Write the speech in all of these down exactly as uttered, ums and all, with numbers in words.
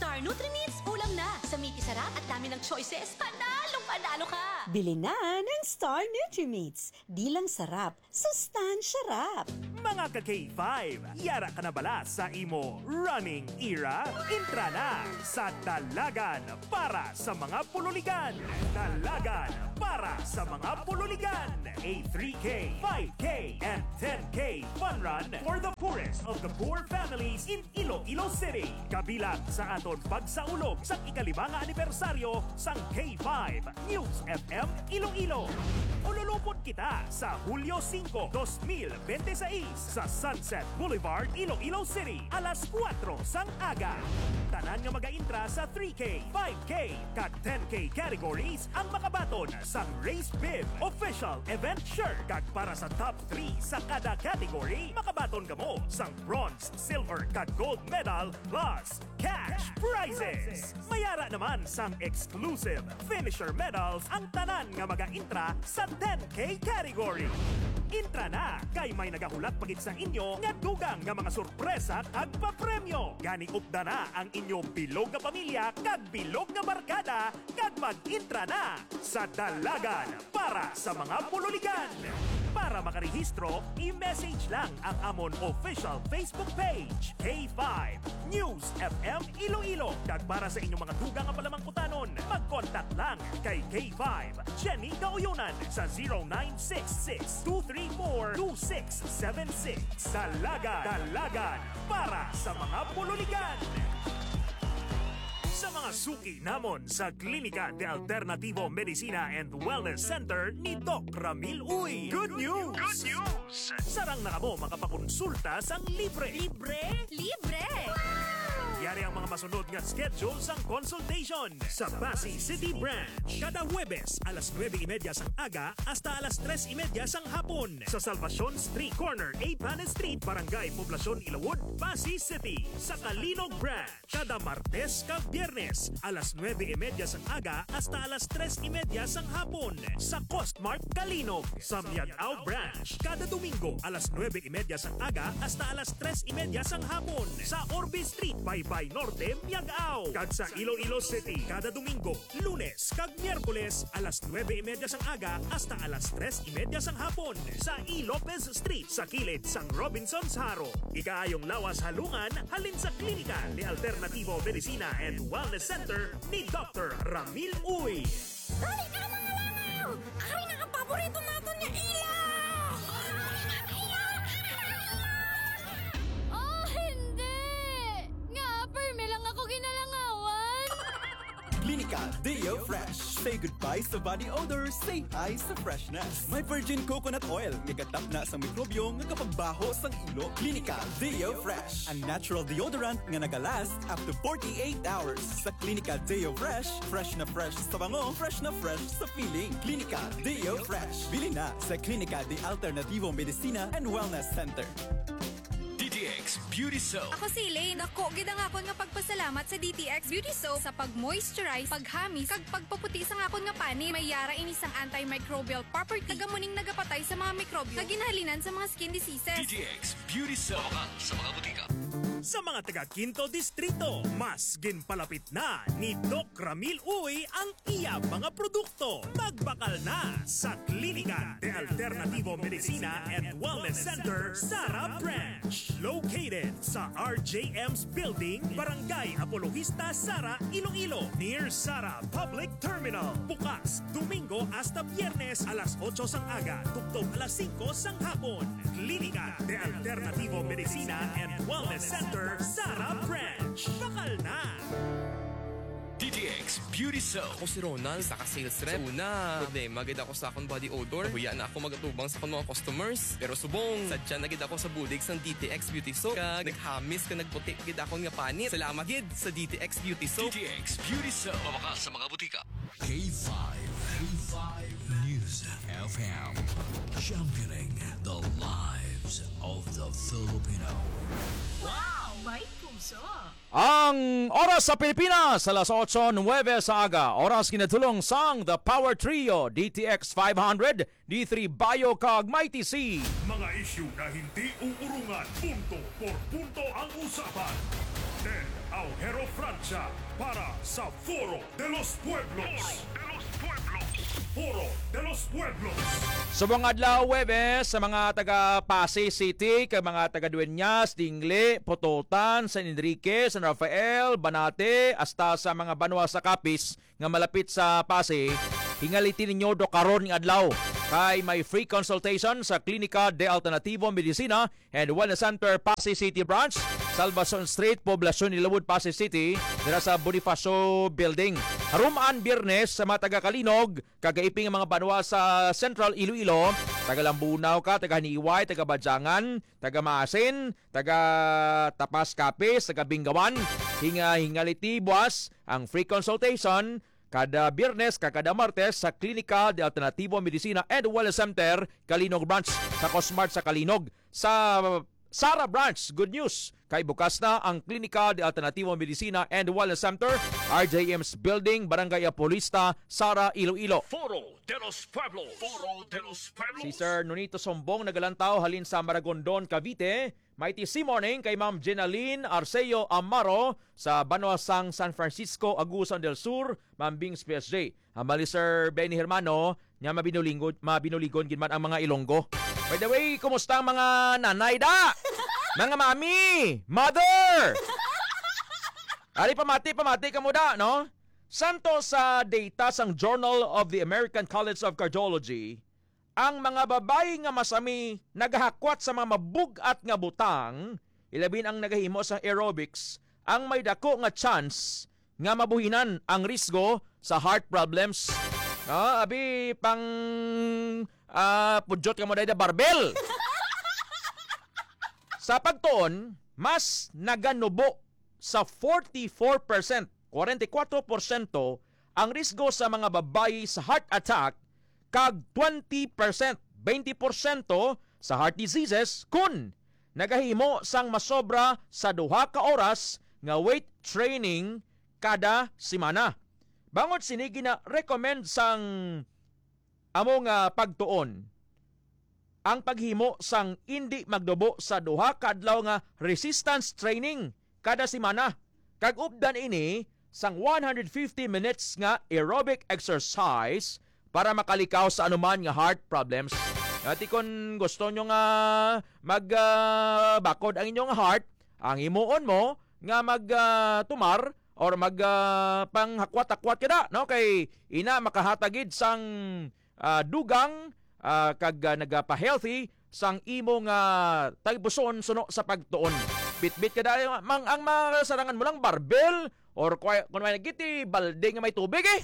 Star Nutrimits, ulam na! Sa miki sarap at dami ng choices, panalong panalo ka! Bili na ng Star Nutrimits. Di lang sarap, sustansya rap! Mga ka K five, yara ka na bala sa imo running era? Intra na sa Dalagan para sa mga pululigan. Dalagan para sa mga pululigan. A three K, five K, and ten K fun run for the poorest of the poor families in Iloilo City. Kabilang sa aton pagsaulog sa ikalima nga anibersaryo sang K five News F M Iloilo. Ululupon kita sa Hulyo singko, dos mil bente sais sa Sunset Boulevard, Iloilo City, alas kuwatro sang aga. Tanan nga magaintra sa three K, five K, kag ten K categories ang makabaton sang Race Bib Official Event Shirt, kag para sa top three sa kada category, makabaton kamo sang bronze, silver, kag gold medal plus cash prizes. Mayara naman sang exclusive finisher medals ang tanan nga magaintra sa ten K category. Intra na, kay may nagahulat pa gid sa inyo nga dugang nga mga sorpresa kag papremyo. Gani, upda na ang inyo bilog nga pamilya kag bilog nga barkada kag mag-intra na sa Dalagan para sa mga pululigan. Para makarehistro, i-message lang ang amon official Facebook page, K five News F M Iloilo. Kag para sa inyong mga dugang nga palamangkutanon, mag-contact lang kay K five Jenny Gaoyonan sa zero nine six six two three four two six seven six. Dalagan, Dalagan para sa mga pululigan. Sa mga suki namon sa Klinika de Alternativo Medicina and Wellness Center ni Doc Ramil Uy, good news! Good news! Sarang na kamo makapakonsulta sang libre. Libre? Libre! Yari ang mga masunod nga schedule sang consultation. Sa Passi City Branch, kada Huwebes, alas nuebe y media sang aga hasta alas tres y media sang hapon. Sa Salvacion Street, corner eight Panes Street, Barangay Poblacion, Ilawod, Passi City. Sa Calinog Branch, kada Martes kag Biyernes, alas nuebe y media sang aga hasta alas tres y media sang hapon. Sa Costmart Calinog. Sa Miag-ao Branch, kada Domingo, alas nuebe y media sang aga hasta alas tres y media sang hapon. Sa Orbe Street, Baybay Norte, Miag-ao. Kag sa Iloilo City, kada Domingo, Lunes kag Miyerkules, alas nuebe y media sang aga hasta alas tres y media sang hapon, sa E. Lopez Street, sa kilid sang Robinsons Jaro. Ikaayong lawas halungan halin sa Klinika de Alternativo Medicina and Wellness Center ni Doctor Ramil Uy. Dali na, mga langaw! Ari na ang paborito naton nga ilaw! Oh, hindi! Nga, permi lang ako ginalangawan. Klinika Deo Fresh. Say goodbye sa body odor, say hi sa freshness. May virgin coconut oil, nga gatapna sang mikrobyo nga kapagbaho sang ilo. Klinika Deo Fresh, a natural deodorant nga nagalast up to forty-eight hours. Sa Klinika Deo Fresh, fresh na fresh sa bango, fresh na fresh sa feeling. Klinika Deo Fresh. Bili na sa Klinika de Alternativo Medicina and Wellness Center. D T X Beauty Soap. Ako si Elaine. Dako gid ang akon nga pagpasalamat sa D T X Beauty Soap sa pag-moisturize, paghamis, kag pagpaputi sang akon nga panit. May yara ini sang antimicrobial property, kag amo ning nagapatay sa mga mikrobyo nga ginhalinan sa mga skin diseases. D T X Beauty Soap. Mabakal sa mga butika. Sa mga taga Quinto Distrito, mas ginpalapit na ni Doc Ramil Uy ang iya mga produkto. Magbakal na sa Klinika de Alternativo Medicina and Wellness Center, Sara Branch. Located sa R J M's Building, Barangay Apologista, Sara, Iloilo, near Sara Public Terminal. Bukas Domingo hasta Biyernes, alas otso sang aga tubtob alas singko sang hapon. Klinika de Alternativo Medicina and Wellness Center, Sara Branch. Bakal na! D T X Beauty Soap. Ako si Ronald, isa ka sales rep. Sa una, problema gid ako sa akong body odor. Nahuya na ako mag-atubang sa akong mga customers. Pero subong, sadya na gid ako sa bulig sang D T X Beauty Soap. Kag naghamis kag nagputi gid akon nga panit. Salamat gid sa D T X Beauty Soap. D T X Beauty Soap. Mabakal sa mga butika. K five, K five News F M, championing the lives of the Filipino. Wow! May puso! Ang oras sa Pilipinas, alas otso nuebe sa aga. Oras ginatulong sang The Power Trio, D T X five hundred, D three Bio kag Mighty C. Mga isyu na hindi uurungan, punto por punto ang usapan. Ted Hero Francia para sa Foro de los Pueblos. Foro de los Pueblos. Subong adlaw, Huwebes, sa mga taga Passi City, kag mga taga Dueñas, Dingle, Pototan, San Enrique, San Rafael, Banate, hasta sa mga banwa sa Capiz nga malapit sa Passi, hingaliti ninyo do karon nga adlaw kay may free consultation sa Klinika de Alternativo Medicina and Wellness Center, Passi City Branch, Salvacion Street, Poblacion Nilawod, Passi City, dira sa Bonifacio Building. Haruman Biyernes sa mga taga Calinog, kag kaiping nga mga banwa sa Central Iloilo, taga Lambunao ka, taga Haniway, taga Badyangan, taga Maasin, taga Tapas Capiz, taga Bingawan, hinga hingaliti buwas ang free consultation kada Biyernes kag kada Martes sa Klinika de Alternativo Medicina and Wellness Center, Calinog Branch, sa Cosmart sa Calinog. Sa Sara Branch, good news, kay bukas na ang Klinika de Alternativo Medicina and Wellness Center, R J M's Building, Barangay Apolista, Sara, Iloilo. Foro de los Pueblos. Foro de los Pueblos. Si Sir Nonito Sombong nagalantaw halin sa Maragondon, Cavite. Mighty C morning kay Ma'am Jenaline Arceo Amaro sa banwa sang San Francisco, Agusan del Sur, Ma'am Bings P S J. Hambal ni Sir Benny Hermano, nya mabinulingon, mabinuligon gid man ang mga Ilonggo. By the way, kumusta ang mga nanay da? Mga mami, mother! Ari, pamati, pamati kamo da, no? Santo sa data sang Journal of the American College of Cardiology, ang mga babayi nga masami nagahakwat sa mga mabug-at nga butang, ilabi na ang nagahimo sang aerobics, ang may dako nga chance nga mabuhinan ang risgo sa heart problems. Ah, abi pang ah, pudyot ka mo dahil barbel. Sa pagtuon, mas naganubo sa forty-four percent, forty-four percent ang risgo sa mga babayi sa heart attack, kag twenty percent, twenty percent sa heart diseases kun nagahimo sang masobra sa duha ka oras nga weight training kada semana. Bangod sini, gina-recommend sang amo nga pagtuon ang paghimo sang indi magnubo sa duha ka adlaw nga resistance training kada semana, kag updan ini sang one hundred fifty minutes nga aerobic exercise para makalikaw sa anuman nga heart problems. Ati, kon gusto nyo nga mag, ah, bakod ang inyong heart, ang himuon mo nga mag, ah, tumar or mag, ah, panghakwat-hakwat ka na, no? Kay ina makahatag gid sang, ah, dugang, ah, kag, ah, nagapa-healthy sang imo nga tagipusoon suno sa pagtuon. Bitbit ka dahil mang ang masarangan mo lang barbel or kung may nagiti balde nga may tubig eh.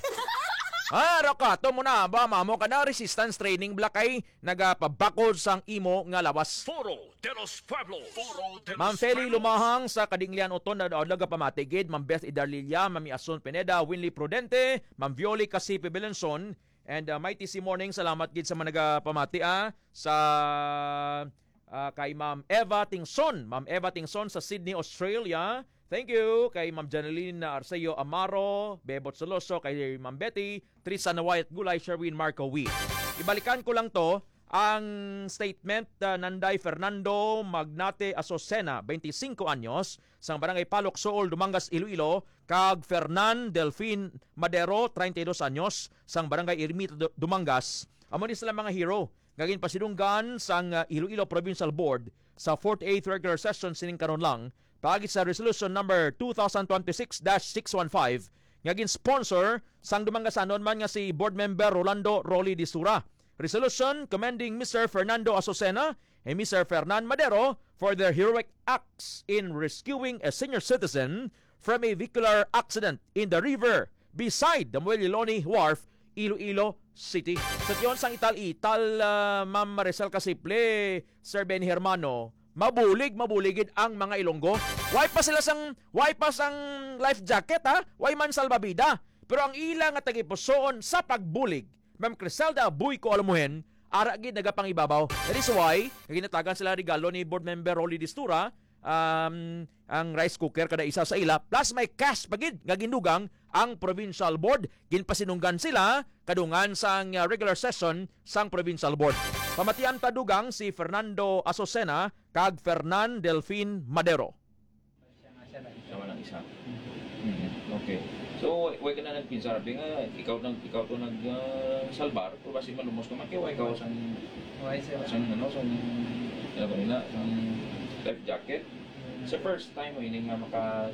Ah, rakato mo na ba, mamo ka na resistance training, bala kay nagapabakod sang imo nga lawas. Foro de los Pueblos. Foro de Ma'am los Feli Pueblos. Lumahang sa Kadinglian Uton, na daw nagapamati gid, Ma'am Beth Idarlilia, Ma'am Asun Pineda, Winley Prudente, Ma'am Violi Casipe Belenson, and, uh, Mighty C Morning, salamat gid sa mga nagapamati, ah, sa, ah, kay Ma'am Eva Tingson, Ma'am Eva Tingson sa Sydney, Australia. Thank you kay Ma'am Janeline Arceo Amaro, Bebot Soloso, kay Ma'am Betty, Trisana Wyatt Gulay, Sherwin Marco Wee. Ibalikan ko lang to, ang statement, uh, nanday Fernando Magnate Azucena, twenty-cinco anyos, sang Barangay Palok, Suol, Dumangas, Iloilo, kag Fernan Delfin Madero, treinta y dos anyos, sang Barangay Ermita, Du-, Dumangas. Amo ni sila mga hero nga ginpasidunggan sang, uh, Iloilo Provincial Board sa forty-eighth regular session sining karon lang, paagi sa Resolution Number two thousand twenty-six dash six one five nga gin-sponsor sang Dumangasanon man nga si Board Member Rolando Rolly Disura. Resolution commending Mister Fernando Azucena and Mister Fernan Madero for their heroic acts in rescuing a senior citizen from a vehicular accident in the river beside the Muelle Loni Wharf, Iloilo City. Sa tiyon sang ital-ital, ah, Ma'am Maricel Casiple, Sir Ben Hermano, mabulig, mabulig gid ang mga Ilonggo. Why pa sila sang, why pa sang life jacket, ha? Why man salbabida? Pero ang ila nga tagipusoon sa pagbulig, Ma'am Criselda Buy ko Alamuhen, ara gid nagapangibabaw. That is why, ginatagan sila regalo ni Board Member Rolly Distura, um, ang rice cooker kada isa sa ila, plus may cash pa gid nga gindugang ang provincial board. Ginpasinunggan sila kadungan sang, uh, regular session sang provincial board. Pamatian ta dugang si Fernando Azucena kag Fernan Delfin Madero. Siya man ang isa. Mm, okay. So, why, why ka na nagpinsar? Di nga, ikaw nag-, ikaw to nag, ah, salbar, pero basi malumos ka man, kay why ka sang, Why, sir? sang, ano, sang, ano ba nila, sang life jacket? Mm. Sa first time mo ini nga maka-,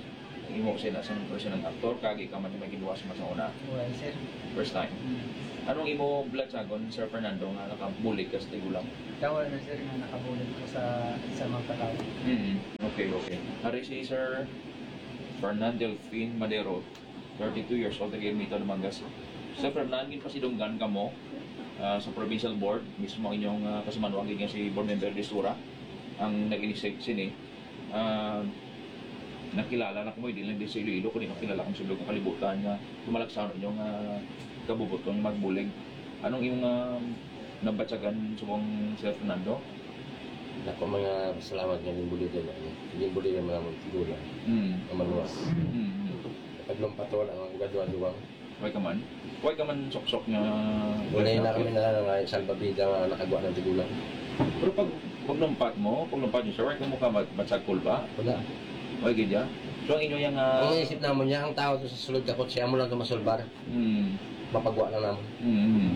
imo sila sang personal actor, kag ikaw man yung may ginawa sa mas una? Why, sir? First time. Mm. Anong imo blatsagon, Sir Fernando, nga nakabulig ka sa tigulang? Tawa na, sir, nga nakabulig ko sa, sa mga tao. Mm, okay, okay. Hari si Sir Fernan Delfin Madero, thirty-two years old, taga Ermita, Dumangas. Sir Fernan, ginpasidunggan kamo, ah, sa provincial board, mismo ang inyong, ah, kasimanwa gid nga si Board Member Listura ang nag-initiate sini. Ah, nakilala na kamo, di lang din sa Iloilo, kundi nakilala kamo sa sulod nga kalibutan nga tumalagsa ang inyong, ah, kabubuton nga magbulig. Anong imong, ah, nabatyagan subong, Sir Fernando? Ako, mga salamat nga ginbuligan ako. Ginbuligan mo naman tigulang. Mm. Ang maluwas. Mm, mm. Pag lumpat, wala nga, gaduwa-duwa. Why ka man? Why ka man suksok nga Wala na kami na nga salbabida nga nakagwa ng tigulang. Pero pag, pag lumpat mo, pag lumpat niyo, sir, why ka mo ka bat-, batsag kulba? Wala. Why gid ya? So, ang inyo yang, ah, Ang isip naman niya, ang tao to sa sulod kapot siya mo lang to masulbar. Hmm. Mapagwa lang naman. Hmm.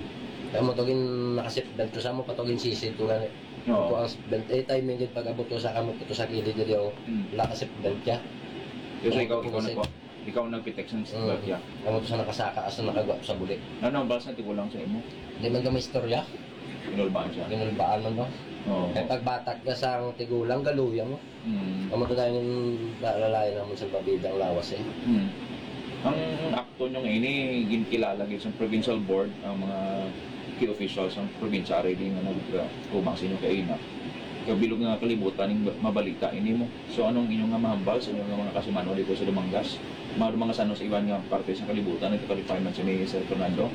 Kaya mo tugin naka-seat belt to sa mo, patugin sisi to gani. Oo. Ito ang seat belt. Eh, timing gid pag abot ko sa kamot ko to sa gilid diri, oh. Hmm. Wala ka seat belt ya. Kasi Ang ikaw, ito ikaw kasi nagpa-, ikaw ang nagpitik sa Mm. seat belt ya. Ang ito sa nakasaka, asa nakagwa sa buli. Ano ang basa tigulang sa imo? Di man ka may istorya. Ginulbaan siya. Ginulbaan man to. Oo. Kaya pagbatak ka sa ang tigulang, galuya mo. Mm. Amo to dahil yung lalay naman sa pabida ang lawas eh. Mm. Ang akto nyo nga ini, ginkilala gid sa provincial board, ang mga key officials sa probinsya, ready nga nagtubang sa inyo kaina. Kabilog nga kalibutan ning mabalita ini mo. So, anong inyong nga mahambal sa inyong nga mga kasimanwa dito sa Dumangas? Mga, mga sanos iban nga parte sa kalibutan, nagka-qualify man si Sir Fernando?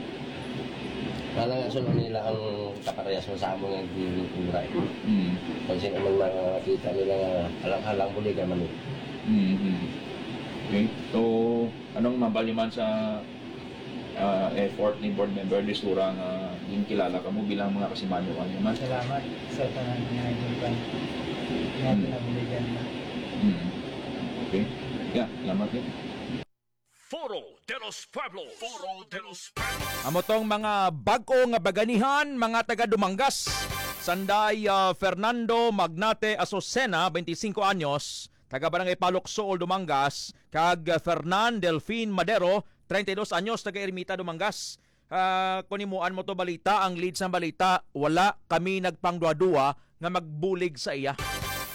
Wala nga, so, nila ang kaparehas mo sa amo nga ginigulay. Mm. Kung sino man makita nila nga halang-halang, buligan man nila. Mm-hmm. Okay. So, anong mabali man sa, ah, effort ni Board Member Lisura nga ginkilala kamo bilang mga kasimanyo kaniya man? Salamat sa tanan nga idol kan nga Hmm. pinabuligan na. Hmm. Okay. Yeah, salamat din. Foro de los Pueblos. Foro de los Pueblos. Amo tong mga bag-o nga baganihan, mga taga Dumangas. Sanday, ah, Fernando Magnate Azucena, twenty-cinco anyos, taga Barangay Palok, Suol, Dumangas, kag, ah, Fernan Delfin Madero, treinta y dos anyos, taga Ermita, Dumangas. Ah, kung himuan mo to balita, ang lead sang balita, wala kami nagpangduha-duha nga magbulig sa iya.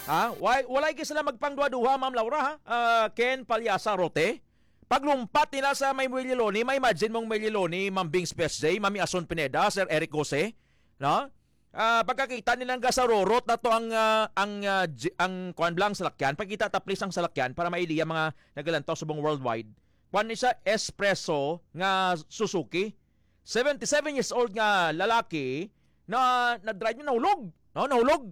Ha? Why, wala gid sila magpangduha-duha, Ma'am Laura, ha? Ah, Ken Palyasa Rote. Paglumpat nila sa may Muelliloni, ma-imagine mong Muelliloni, Ma'am Bings P S J, Mami Ason Pineda, Sir Eric Jose, no? Ah, pagkakita nila nga gasarurot na to ang, ah, ang, ah, j-, ang kuan lang salakyan. Pakita ta please ang salakyan para mailiya mga nagalantaw subong worldwide. Kuan ni siya, Espresso nga Suzuki. Seventy-seven years old nga lalaki na nag-drive niya, nahulog. No, nahulog.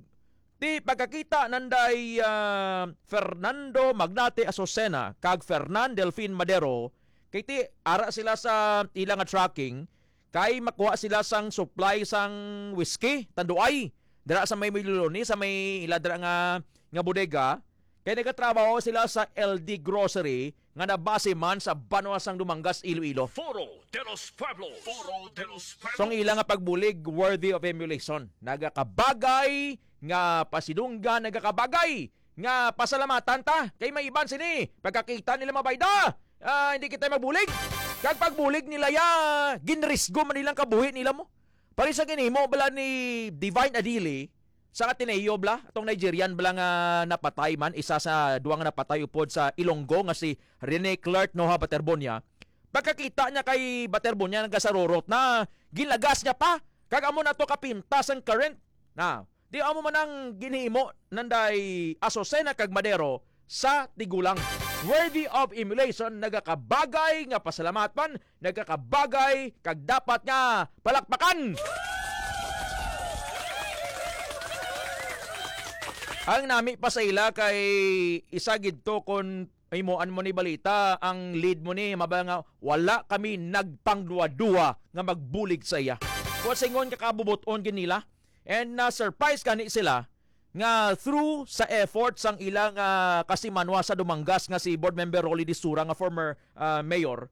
Ti pagkakita nanday, ah, Fernando Magnate Azucena kag Fernan Delfin Madero, kay ti ara sila sa ila nga trucking, kay makuha sila sang supply sang whiskey, tanduay, dira sa may Muelliloni, sa may ila dira nga, nga bodega. Kay nagatrabaho sila sa L D Grocery nga nabase man sa banwa sang Dumangas, Iloilo. Foro de los Pueblos. Foro de los Pueblos. So, ang ila nga pagbulig, worthy of emulation. Nagakabagay nga pasidunggan, nagakabagay nga pasalamatan ta. Kay may iban sini, pagkakita nila mabayda, ah, hindi kita magbulig. Kag pagbulig nila ya, ginrisgo man nilang kabuhi nila mo. Pari sa ginhimo bala ni Divine Adili, sa Ateneo bala, atong Nigerian bala nga napatay man, isa sa duwa nga napatay upod sa Ilonggo nga si Rene Clark Noha Baterbonia. Pagkakita niya kay Baterbonia, nagasarurot na, ginlagas niya pa. Kag amo na to kapintas ang current. Na, di amo man ang ginhimo nanday Azucena kag Madero sa tigulang. Worthy of emulation, nagakabagay nga pasalamatan, nagakabagay kag dapat nga palakpakan. Ang nami pa sa ila kay isa gid to kon himuan mo ni balita, ang lead mo ni mabaya nga wala kami nagpangduwa-duwa nga magbulig sa iya. Kuwan sa ingon ka kabubot-on gid nila. And na-surprise gani sila nga through sa effort sang ilang, ah, kasimanwa sa Dumangas nga si Board Member Rolly Disura nga former, ah, mayor,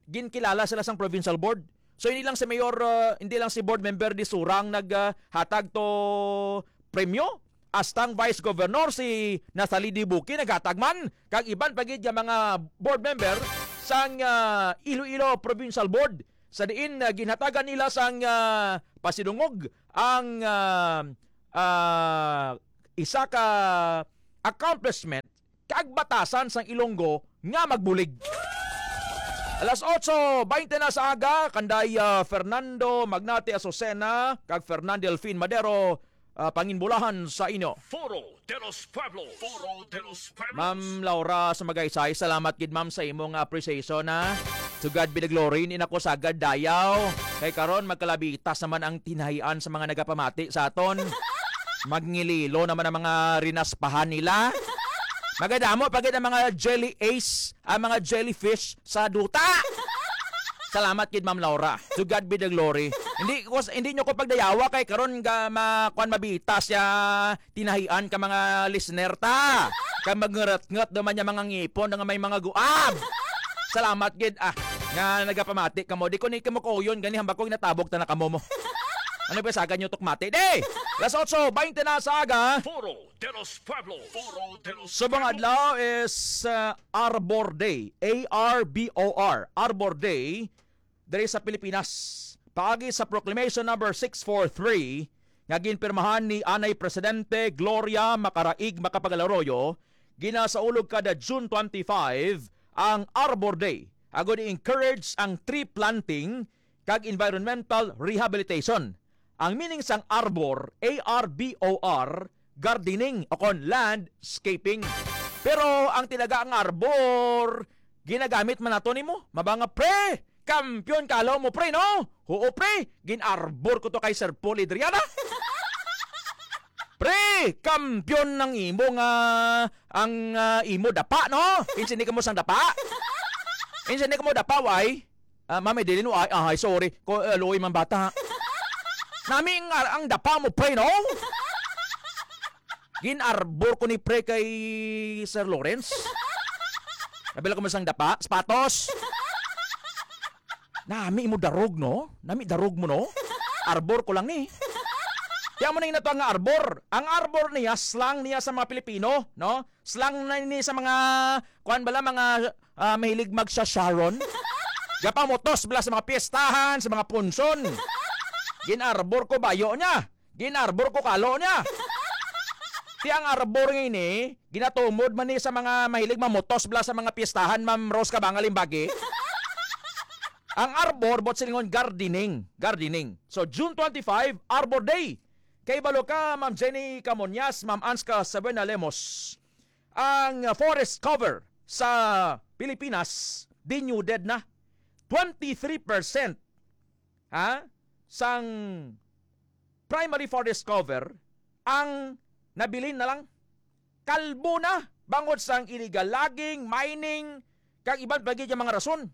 ginkilala sila sang provincial board. So, hindi lang si Mayor, ah, hindi lang si Board Member Disura ang nag, ah, hatag to premyo, hasta ang Vice Governor si Nathalie Dibuki naghatag man, kag iban pa gid nga mga board member sang, ah, Iloilo Provincial Board, sa diin, ah, ginhatagan nila sang, ah, pasidungog ang, ah, ah, isa ka accomplishment kag batasan sang Ilonggo nga magbulig. Alas otso baynte na sa aga, kanday, ah, Fernando Magnate Azucena kag Fernand Delfin Madero, ah, panginbulahan sa inyo. Foro de los Pueblos. Foro de los Pueblos. Ma'am Laura sa Magaysay, salamat gid, ma'am, sa imong appreciation, ha. To God be the glory, hindi na ko sagad dayaw. Kay karon, magkalabitas naman ang tinahian sa mga nagapamati sa aton. Magngililo naman ang mga rinaspahan nila. Magadamo pa gid ang mga jelly ace, ang mga jellyfish sa duta. Salamat gid, Ma'am Laura. To God be the glory. Hindi ko, hindi nyo ko pagdayawa kay karon ga ma, kwan, mabita siya tinahian ka mga listener ta. Kay magngarat-ngat naman niya mga ngipon nga may mga guab. Salamat gid, ah, nga nagapamati kamo. Di ko ni kamo kuyon gani hambak ko ginatabog ta na kamo mo. Ano ba sagan nyo tukmati? Di! Las otso baynte na sa aga. Foro de los Pueblos. Foro de los Subong Pueblos. Adlaw is, uh, Arbor Day. A R B O R. Arbor Day diri sa Pilipinas. Paagi sa Proclamation Number six four three nga ginpirmahan ni Anay Presidente Gloria Macaraig Macapagal-Arroyo, ginasaulog kada June twenty-five ang Arbor Day, agud i-encourage ang tree planting kag environmental rehabilitation. Ang meaning sang arbor, A R B O R, gardening o kon landscaping. Pero ang talaga ang arbor, ginagamit man nato nimo. Mabanga, pre, kampiyon ka, alaw mo, pre, no? Oo, pre, gin-arbor ko to kay Sir Paul Adriana. Pre, kampiyon ng imo nga, ang, ah, imo dapa, no? Kinsa ni kamo sang dapa? Kinsa ni kamo dapa, why? Ah, mami, dili no, ay, ay, sorry. Ko, eh, luoy man bata. Nami ang, ang dapa mo, pre, no? Gin-arbor ko ni pre kay Sir Lawrence. Nabila ko mo sang dapa, sapatos. Nami mo darog, no? Nami darog mo, no? Arbor ko lang ni. Kaya mo na yung natuwa nga arbor. Ang arbor niya, slang niya sa mga Pilipino, no? Slang na ni sa mga, kuan bala, mga, ah, mahilig magsasharon. Gapamutos bala sa mga piyestahan, sa mga punson. Gin-arbor ko bayo niya. Gin-arbor ko kalo niya. Ti ang arbor nga ini, ginatumod man ni sa mga mahilig mamutos bala sa mga piyestahan, Ma'am Rose Kabanga Limbagi. Ang arbor, buot silingon, gardening. Gardening. So, June twenty-five, Arbor Day. Kay balo ka, Ma'am Jenny Camonias, Ma'am Anska Sabrina Lemos, ang forest cover sa Pilipinas, denuded na. Twenty-three percent, ha, sang primary forest cover ang nabilin na lang. Kalbo na bangod sang illegal logging, mining, kag iban pa gid nga mga rason.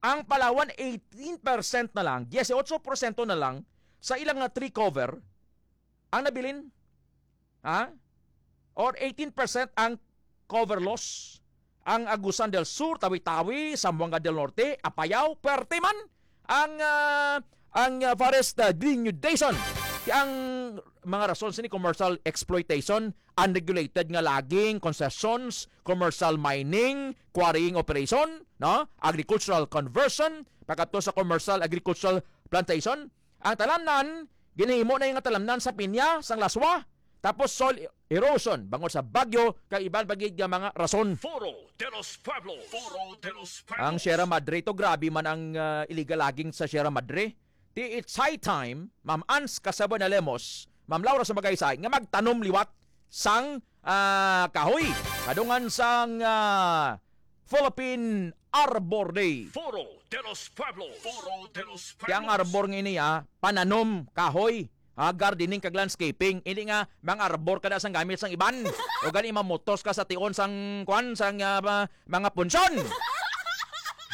Ang Palawan, eighteen percent na lang, dieciocho porsyento na lang sa ilang nga tree cover ang nabilin. Ha? Or eighteen percent ang cover loss. Ang Agusan del Sur, Tawi-Tawi, Zamboanga del Norte, Apayao, perte man ang, ah, ang, ah, forest, ah, denudation. Ang mga rason sini, commercial exploitation, unregulated nga logging, concessions, commercial mining, quarrying operation, no? Agricultural conversion, pagkadto sa commercial agricultural plantation. Ang talamnan, ginahimo na nga talamnan sa pinya, sang laswa, tapos soil erosion, bangod sa bagyo, kag iban pa gid nga mga rason. Foro de los Pueblos. Foro de los Pueblos. Ang Sierra Madre, to grabe man ang, ah, illegal logging sa Sierra Madre. Ti it's high time, Ma'am Ans Casabuena Lemos, Ma'am Laura sa Magaysay, nga magtanom liwat sang, ah, kahoy. Kadungan sang, ah, Philippine Arbor Day. Foro de los Pueblos. Foro de los Pueblos. Kaya ang arbor nga ini, ah, pananom kahoy, ah, gardening kag landscaping. Hindi nga mga arbor ka na sang gamit sang iban. O gani mamutos ka sa tion sang kwan, sang, ah, ma-, mga punson.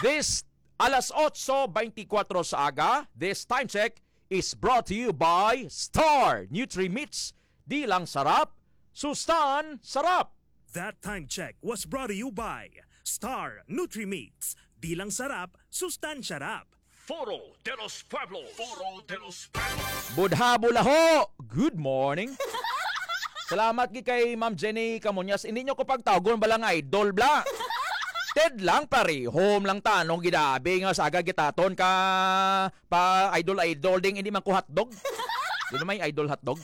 This alas otso beintikwatro sa aga, this time check is brought to you by Star Nutri Meats. Di lang sarap, Sustan Sarap. That time check was brought to you by Star Nutrimix. Di lang sarap, sustansya rap. Foro de los Pueblos. Foro de los Pueblos. Budha bulaho. Good morning. Salamat gi kay Ma'am Jenny Camuñas. Hindi nyo ko pagtawgon bala nga idol bla. Ted lang, parehom lang tanong gidabi nga saga gitaton ka pa idol-idol ding hindi man ko hotdog. Di ba may idol hotdog?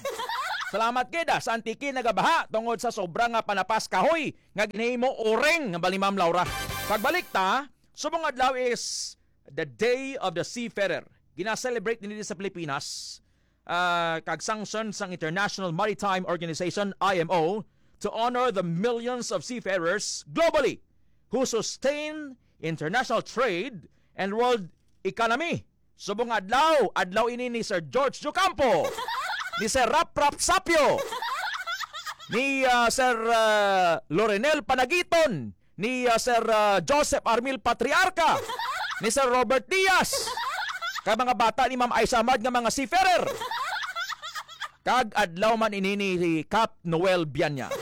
Salamat gid, ah, sa Antique nagabaha tungod sa sobra nga panapas kahoy nga ginhimo uring nga bali Ma'am Laura. Pagbalik ta, subong adlaw is the Day of the Seafarer. Gina-celebrate nila sa Pilipinas, ah, kag sanction sang International Maritime Organization, I M O, to honor the millions of seafarers globally who sustain international trade and world economy. Subong adlaw, adlaw ini ni Sir George Ocampo, ni Sir Rap Rap Sapio, ni, ah, Sir, ah, Lorenel Panagiton, ni, ah, Sir, ah, Joseph Armil Patriarca, ni Sir Robert Diaz, kag mga bata ni Ma'am Aisamad nga mga seafarer. Kag adlaw man ini ni Cap Noel Bianya.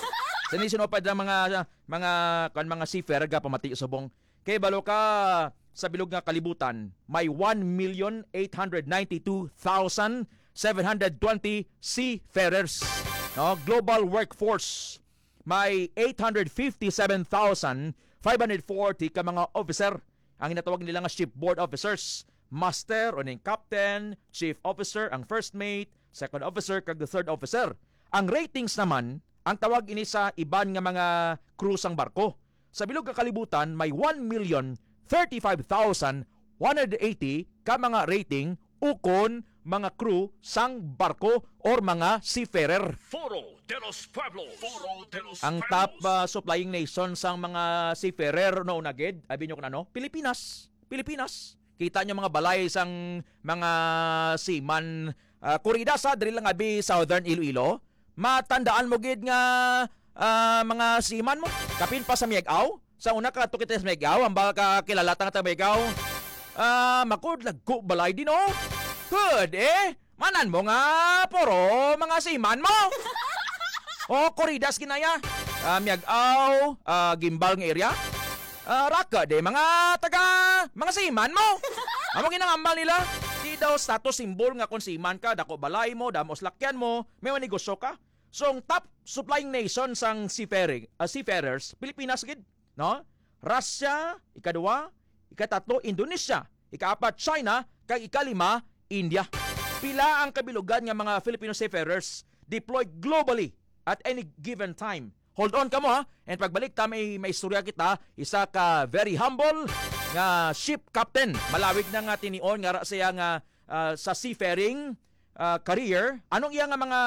Sini sino pa ang mga, mga, kan mga seafarer ga pamati subong. Kay balo ka sa bilog nga kalibutan, may one million eight hundred ninety-two thousand seven hundred twenty seafarers. No, global workforce, may eight hundred fifty-seven thousand five hundred forty ka mga officer, ang ginatawag nila nga shipboard officers, master o ning captain, chief officer, ang first mate, second officer, kag third officer. Ang ratings naman, ang tawag ini sa iban nga mga crew sang barko. Sa bilog nga kalibutan, may one million thirty-five thousand one hundred eighty ka mga rating ukon mga crew sang barko or mga seafarer. Foro de los Pueblos. Foro de los Ang Pueblos. top, ah, supplying nation sang mga seafarer no una gid, abi nyo kun ano? Pilipinas. Pilipinas. Kita nyo mga balay sang mga seaman, ah, kurida sa diri lang abi Southern Iloilo. Matandaan mo gid nga, ah, mga seaman mo. Kapin pa sa Miag-aw. Sa una ka to kita sa Miag-aw, ang baka kilala ta nga taga Miag-aw. Ah, makud lagko balay din, oh. Good, eh. Manan mo nga puro mga seaman mo. Oh, kuridas ginaya. Ah, Miag-aw, ah, Gimbal nga area. Ah, raka de mga taga, mga seaman mo. Amo ginangambal nila. Di daw status symbol nga kung seaman ka, dako balay mo, damo salakyan mo, may negosyo ka. So, ang top supplying nation sang seafaring, ah, seafarers, Pilipinas gid, no? Russia, ikaduha, ikatatlo, Indonesia, ikaapat, China, kag ikalima, India. Pila ang kabilugan nga mga Filipino seafarers deployed globally at any given time? Hold on kamo, ha. And pagbalik ta, may, may istorya kita, isa ka very humble nga ship captain. Malawig na nga tinion nga ra siya nga, ah, sa seafaring, ah, career. Anong iya nga mga,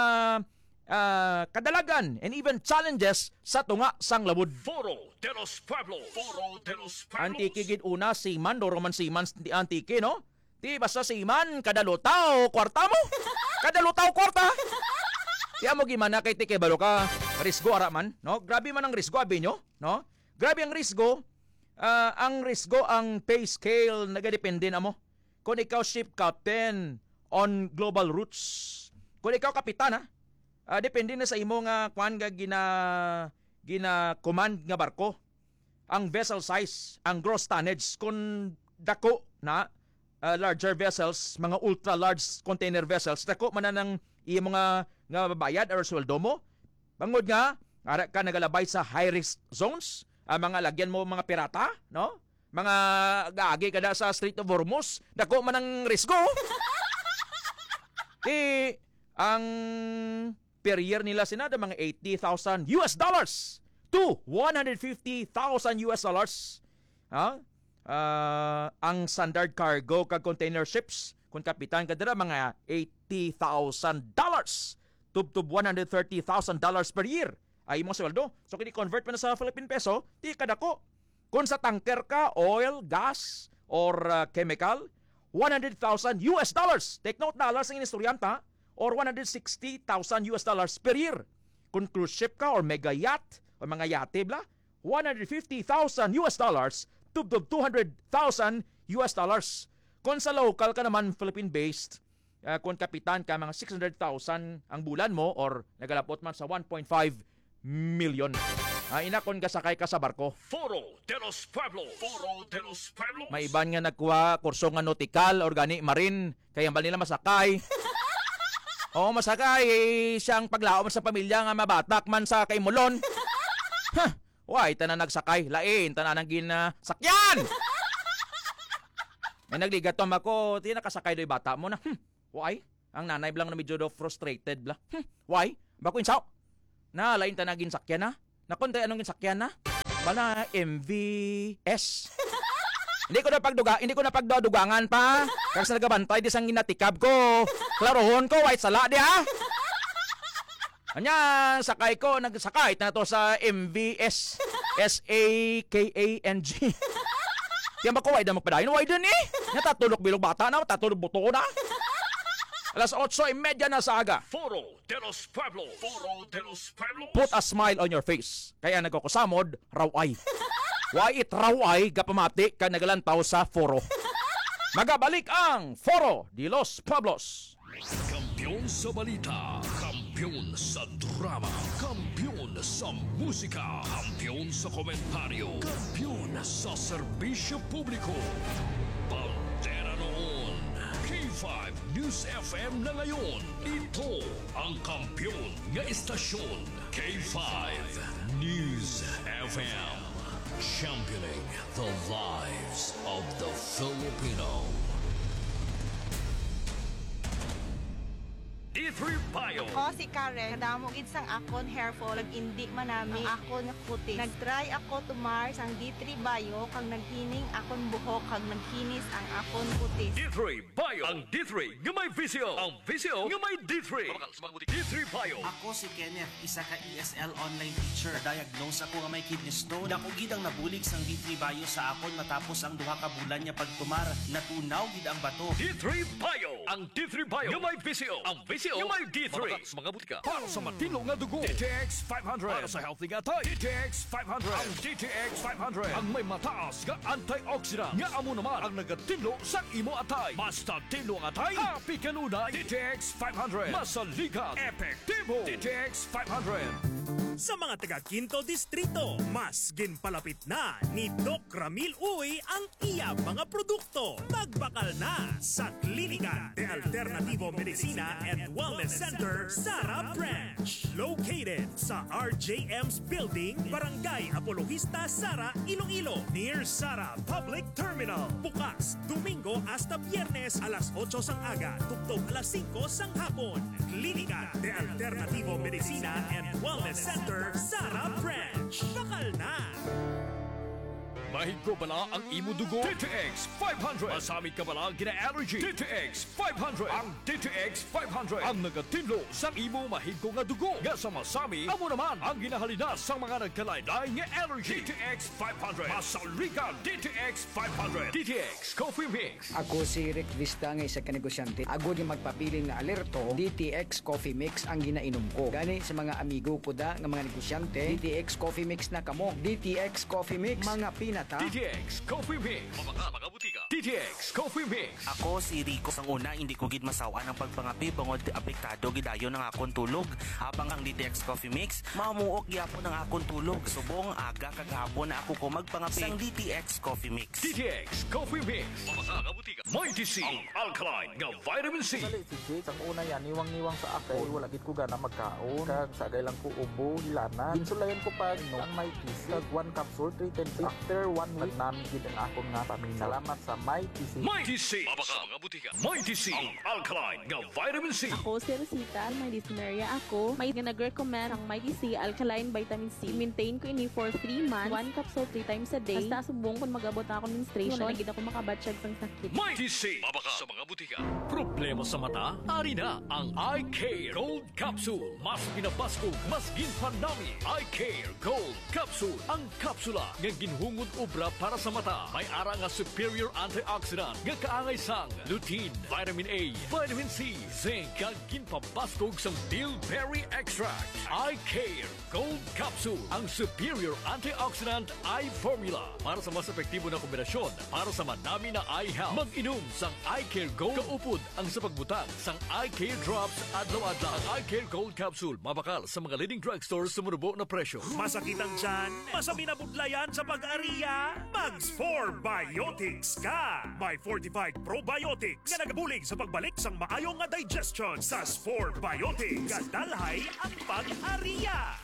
ah, kadalagan and even challenges sa tunga sang lawod? Foro de los Pueblos. Foro de los Pueblos. Antique gid una, seaman, duro man seaman sa Antique, no? Di basta seaman, kada lutaw, kwarta mo. Kada lutaw, kwarta. Di amo gimana kay ti kay balo ka, risgo ara man, no? Grabe man ang risgo, abi nyo, no? Grabe ang risgo. Ah, ang risgo, ang pay scale, nagadepende na mo. Kung ikaw ship captain on global routes, kung ikaw kapitan, ha, ah, depende na sa imo nga, kwan, nga gina-, gina-command nga barko. Ang vessel size, ang gross tonnage, kung dako na, ah, larger vessels, mga ultra large container vessels, dako man na nang imo nga, nga bayad or sweldo mo. Bangod nga, ara ka nagalabay sa high risk zones, ang mga lagyan mo mga pirata, no? Mga gaagi kada sa Strait of Hormuz, dako man ang risgo. Di, ang per year nila sina da mga eighty thousand U S dollars to one hundred fifty thousand U S dollars. Ha? Ah, ang standard cargo kag container ships, kung kapitan ka dira, mga eighty thousand dollars, tubtob one hundred thirty thousand dollars per year ay imong sweldo. So, kini convert mo na sa Philippine peso, di kadako. Kung sa tanker ka, oil, gas, or, ah, chemical, one hundred thousand U S dollars. Take note, dollars ang inistorya ta, or one hundred sixty thousand U S dollars per year. Kung cruise ship ka or mega yacht, o mga yate, bla, one hundred fifty thousand U S dollars, tubtob two hundred thousand U S dollars. Kung sa local ka naman, Philippine-based, Ah, kung kapitan ka, mga six hundred thousand ang bulan mo or nagalabot man sa one point five million. Ah, ina, kung gasakay ka sa barko. Foro de los Pueblos. Foro de los Pueblos. May iban nga nagkuha kurso nga nautical or gani marine, kay hambal nila masakay. Oo, masakay, eh, siyang paglaom sa pamilya nga mabatak man sa kaimulon. Huh! Why, tanan nagsakay, lain, tanan ang ginasakyan! May nagligat to, mako, ti nakasakay do'y bata mo na. Hmm, why? Ang nanay blang na medyo daw frustrated bla. Hmm, why? Bako insaw? Na, lain tanan ginsakyan na. Nakon tayo anong ginsakyan na? Bala, M V S. Hindi ko na pagduga, hindi ko na pagdugangan pa. Kag sa nagabantay di sang ginatikab ko. Klarohon ko, why sala di ah? Anya, sakay ko, nagsakay na to sa M V S, S A K A N G. Tiyan ba ko, why na magpadayon? Why din eh? Natatulog bilog bata na, tatulog buto na. Alas otso y media na sa aga. Foro de los Pueblos. Foro de los Pueblos. Put a smile on your face. Kaya nagkukusamod, raway. Why it raway, gapamati ka nagalantaw sa foro. Magabalik ang Foro de los Pueblos. Kampiyon sa balita, kampiyon sa drama, kampiyon sa musika, kampiyon sa komentaryo, kampiyon sa serbisyo publiko. Bandera noon, K five News F M na ngayon. Ito ang kampiyon nga istasyon, K five News F M. Championing the lives of the Filipino. D three Bio. Ako si Karen. Kadamo gid sang akon hair fall, nag-indi man nami ang akon kutis. Nag-try ako tumar sang D three Bio, kag naghining akon buhok, kag naghinis ang akon kutis. D three Bio. Ang D three nga may visyo. Ang visyo nga may D three. Mabakal sa mga butika. D three Bio. Ako si Kenneth, isa ka E S L online teacher. Na-diagnose ako nga may kidney stone. Dako gid ang nabulig sang D three Bio sa akon matapos ang duha ka bulan nga pagtumar. Natunaw gid ang bato. D three Bio. Ang D three Bio nga may visyo. Ang visyo nga may D three. Mabakal sa mga butika. Para sa matinlo nga dugo, D T X five hundred. Para sa healthy nga atay, D T X five hundred. Ang D T X five hundred ang may mataas nga antioxidant nga amo naman ang nagatinlo sang imo atay. Basta tinlo ang atay, happy kanunay. D T X five hundred. Masaligan, epektibo. D T X five hundred. Sa mga taga Quinto Distrito, mas ginpalapit na ni Doc Ramil Uy ang iya mga produkto. Magbakal na sa Klinika de Alternativo Medicina and Wellness Center, Sara Branch. Located sa R J M's Building, Barangay Apologista, Sara, Iloilo, near Sara Public Terminal. Bukas Domingo hasta Biyernes alas otso sang aga, tubtob alas singko sang hapon. Klinika de Alternativo Medicina and Wellness Center, Sara Branch. Bakal na! Mahigo bala ang imo dugo? D T X five hundred. Masami ka bala gina-allergy? D T X five hundred. Ang D T X five hundred ang nagatinlo sang imo mahigo nga dugo. Nga sa masami, amo naman ang ginahalinas sang mga nagkalain-lain nga allergy. D T X five hundred. Masaligan, D T X five hundred. D T X Coffee Mix. Ako si Rick Vista nga isa ka negosyante. Agod nga magpabilin nga alerto, D T X Coffee Mix ang ginainom ko. Gani sa mga amigo ko da nga mga negosyante, D T X Coffee Mix na kamo. D T X Coffee Mix, mga pinata. D T X Coffee Mix. Mabakal sa mga butika. D T X Coffee Mix. Ako si Rico. Sang una, hindi ko gid masaw-an ang pagpangape bangod apektado gid dayon ang akon tulog. Habang ang D T X Coffee Mix, mamuok gyapon ang akon tulog. Subong aga kag hapon na ako ko magpangape sang D T X Coffee Mix. D T X Coffee Mix. Mabakal sa mga butika. Mighty C, ang alkaline nga vitamin C. Sali si Jake, sang una yan, niwang-niwang sa ako. Uy, wala gid ko gana magkaon. Kag sa agay lang ko ubo, hilanat. Ginsulayan ko pa, inom ang Mighty C. Kag one capsule, three times. After one week, nagnami gid ang akon nga paminaw. Salamat sa Mighty C. Mighty C. Mabakal sa mga butika. Mighty C, ang alkaline nga vitamin C. Ako si Rosita, may dysmenorrhea ako. May nga nag-recommend ang Mighty C alkaline vitamin C. Maintain ko ini for three months. One capsule three times a day. Hasta subong kung mag-abot na ako menstruation, wala na gid ako makabatyag sang sakit. Mighty C. Mabakal sa mga butika. Problema sa mata? Ari na ang Eye Care Gold Capsule. Mas pinabaskog, mas ginpanami. Eye Care Gold Capsule. Ang kapsula nga ginhungod obra para sa mata. May ara nga superior antioxidant nga kaangay sang lutein, vitamin A, vitamin C, zinc, kag ginpabaskog sang bilberry extract. Eye Care Gold Capsule, ang superior antioxidant eye formula para sa mas epektibo na kombinasyon para sa madami na eye health. Mag-inom sang Eye Care Gold kaupod ang sa pagbutang sang Eye Care Drops adlaw-adlaw. Ang Eye Care Gold Capsule mabakal sa mga leading drugstore sa manubo na presyo. Masakit ang tiyan? Masabi na budlayan sa pag-ariya? Mag Spore Biotics ka! May fortified probiotics nga nagabulig sa pagbalik sang maayo nga digestion. Sa Spore Biotics, kadalhay ang pag-ariya.